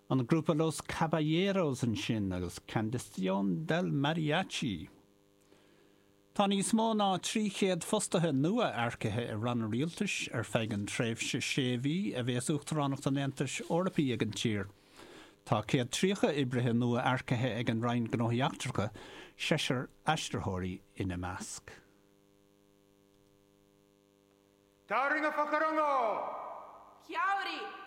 An grúpa Los Caballeros ansin agus Canción del Mariachi. Tá níos mó ná 300 fostaithe nua earcaithe i ranna rialtais ar feadh an tréimhse sé mhí a bhéas Uachtaránacht an Aontais Eorpaigh ag an tír. Tá 130 oibrithe nua earcaithe ag an Roinn Gnóthaí Eachtracha, seisear aistritheoirí ina measc. Taringa whakarongo! Kia ora!